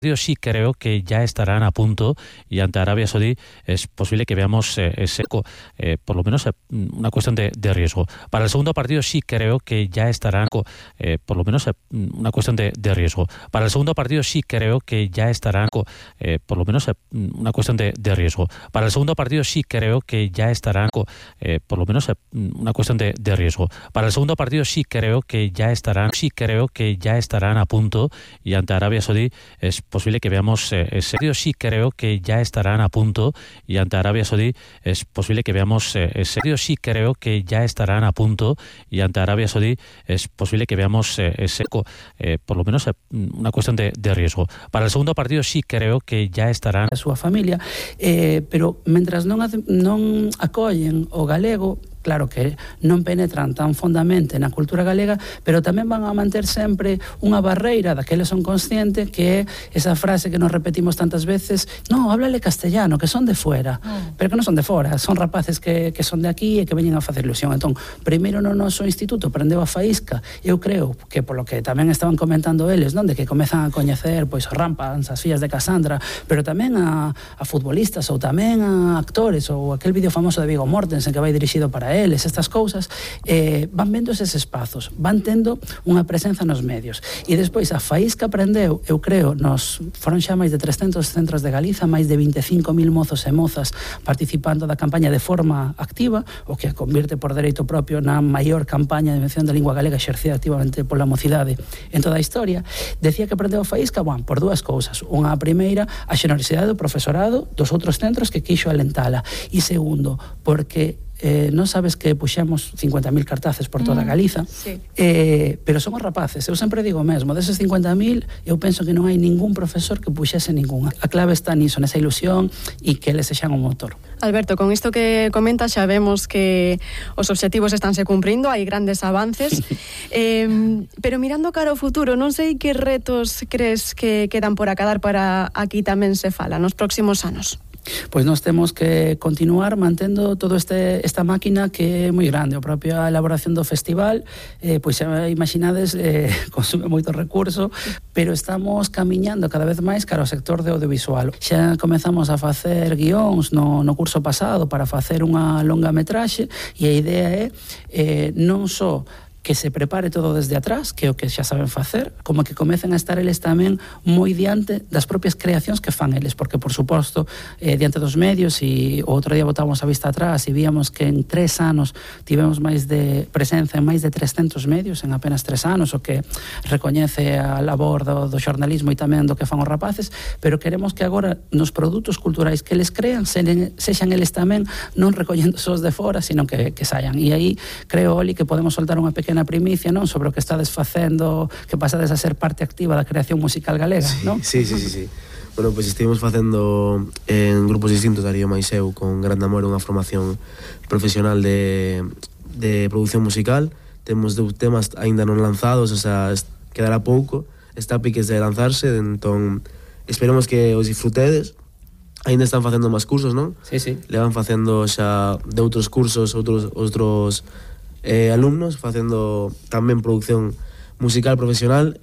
Sí creo que ya estarán a punto y ante Arabia Saudí es posible que veamos por lo menos una cuestión de riesgo. Para el segundo partido sí creo que ya estarán por lo menos una cuestión de riesgo. Para el segundo partido sí creo que ya estarán por lo menos una cuestión de riesgo. Para el segundo partido sí creo que ya estarán por lo menos una cuestión de riesgo. Para el segundo partido sí creo que ya estarán a punto y ante Arabia Saudí es posible que veamos sí creo que ya estarán a punto y ante Arabia Saudí es posible que veamos sí creo que ya estarán a punto y ante Arabia Saudí es posible que veamos por lo menos una cuestión de riesgo. Para el segundo partido sí creo que ya estarán a súa familia, pero mentras non acollen o galego, claro que non penetran tan fondamente na cultura galega, pero tamén van a manter sempre unha barreira da que eles son conscientes, que é esa frase que nos repetimos tantas veces: no, háblale castellano, que son de fuera. Pero que non son de fora, son rapaces que son de aquí e que veñen a facer ilusión. Entón, primeiro no noso instituto aprendeu a faísca. Eu creo que polo que tamén estaban comentando eles, non, de que comezan a coñecer pois a Rampans, as fillas de Cassandra, pero tamén a futbolistas ou tamén a actores, ou aquel vídeo famoso de Viggo Mortensen que vai dirixido para eles, estas cousas, van vendo eses espazos, van tendo unha presenza nos medios. E despois a faísca aprendeu, eu creo, foron xa máis de 300 centros de Galiza, máis de 25.000 mozos e mozas participando da campaña de forma activa, o que a convirte por dereito propio na maior campaña de invención da lingua galega exercida activamente pola mocidade en toda a historia. Decía que aprendeu a faísca, por dúas cousas. Unha primeira, a xenerosidade do profesorado dos outros centros que quixo alentala, e segundo, porque non sabes que puxemos 50.000 cartaces por toda Galiza, sí. Pero son os rapaces. Eu sempre digo mesmo, deses 50.000 eu penso que non hai ningún profesor que puxese ninguna. A clave está niso, nesa ilusión, e que eles sexan o motor. Alberto, con isto que comentas xa vemos que os obxectivos estánse cumprindo, hai grandes avances, pero mirando cara ao futuro, non sei que retos crees que quedan por acadar para aquí tamén se fala nos próximos anos. Pois nós temos que continuar mantendo todo esta máquina que é moi grande. A propia elaboración do festival, pois xa imaginades, consume moito recurso, pero estamos camiñando cada vez máis cara ao sector de audiovisual. Xa comezamos a facer guións no curso pasado para facer unha longa metraxe, e a idea é non só que se prepare todo desde atrás, que é o que xa saben facer, como que comecen a estar eles tamén moi diante das propias creacións que fan eles, porque, por suposto, diante dos medios, e o outro día botamos a vista atrás e víamos que en 3 anos tivemos máis de presenza en máis de 300 medios en apenas 3 anos, o que recoñece a labor do xornalismo e tamén do que fan os rapaces, pero queremos que agora nos produtos culturais que eles crean sexan eles tamén non recollendo sós de fora, sino que saian. E aí creo, Oli, que podemos soltar unha pequena primicia, non, sobre o que estades facendo, que pasades a ser parte activa da creación musical galega, non? Sí. Bueno, pois estivemos facendo en grupos distintos, Darío máis eu, con Gran Amor, unha formación profesional de produción musical. Temos 2 temas aínda non lanzados, o sea, quedará pouco, está a piques de lanzarse, entón esperemos que os disfrutedes. Aínda están facendo máis cursos, non? Sí. Le van facendo xa de outros cursos, outros alumnos, facendo tamén produción musical profesional,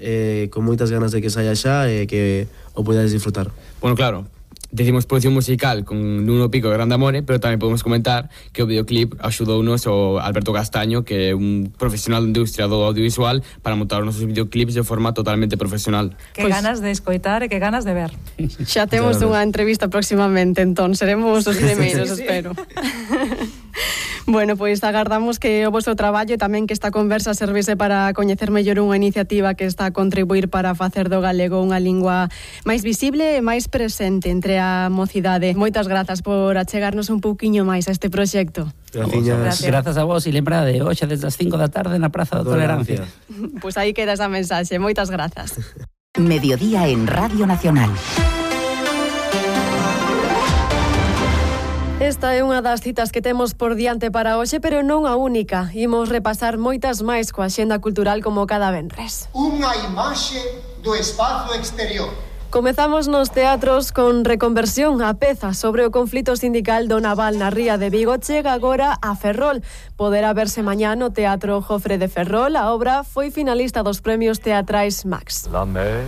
con moitas ganas de que saia xa e que o podades disfrutar. Bueno, claro, decimos producción musical con Nuno Pico e Grande Amore, pero tamén podemos comentar que o videoclip axudounos o Alberto Castaño, que é un profesional da industria do audiovisual, para montar os nosos videoclips de forma totalmente profesional. Que ganas de escoitar e que ganas de ver. Xa temos unha entrevista próximamente, entón seremos os primeiros, espero. Bueno, pois agardamos que o vosso traballo e tamén que esta conversa servise para coñecer mellor unha iniciativa que está a contribuir para facer do galego unha lingua máis visible e máis presente entre a mocidade. Moitas grazas por achegarnos un pouquiño máis a este proxecto. Grazas a vos, e lembrade, hoxe desde as 5 da tarde na Praza da Tolerancia. Pois aí queda esa mensaxe. Moitas grazas. Mediodía en Radio Nacional. Esta é unha das citas que temos por diante para hoxe, pero non a única. Imos repasar moitas máis coa axenda cultural como cada venres. Unha imaxe do espazo exterior. Comezamos nos teatros con Reconversión, a peza sobre o conflito sindical do naval na ría de Vigo chega agora a Ferrol. Poderá verse mañá no Teatro Jofre de Ferrol. A obra foi finalista dos premios teatrais Max. La mer